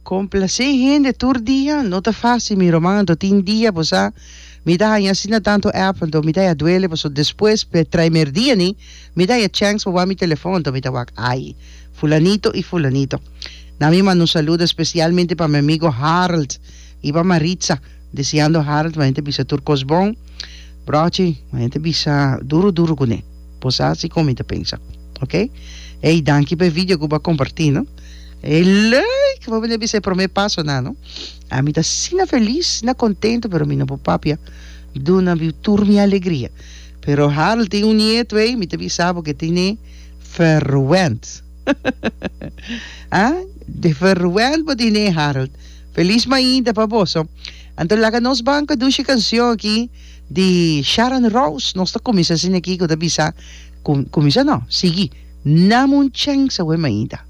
Komplasé hende tur dia no ta fásil mi ruman anto tin dia bo sa mi ta haña asina tantu app anto mi ta haña duele pasobra despues pe trae merdia ni mi ta haña chèns pa wak mi telefòn anto mi ta wak ai fulanito i fulanito. Na mi manda un saludo espesialmente pa mi amigo Harold i pa Maritza deseando Harold manera ta bisa tur kos bon brochi manera ta bisa duru duru kuné bo sa si kon mi ta pensa ok ey danki pa e video ku bo a kompartí no. E leuk! Bo mester bisa e prome pasonan, no? Ami ta asina felis, asina contento, pero mi no por papia duna mi tur mi alegria. Pero Harold tin un nieto ey, mi ta bisa bo ke tine verwend. Ah, de verwend bo tine, Harold. Felis mainta pa boso. Anto laga nos ban ku e dushi cancion aki di Sharon Rose. Nos ta cuminsa asina aki ku ta bisa, cuminsa no, sigui, Nam un chèns awe mainta.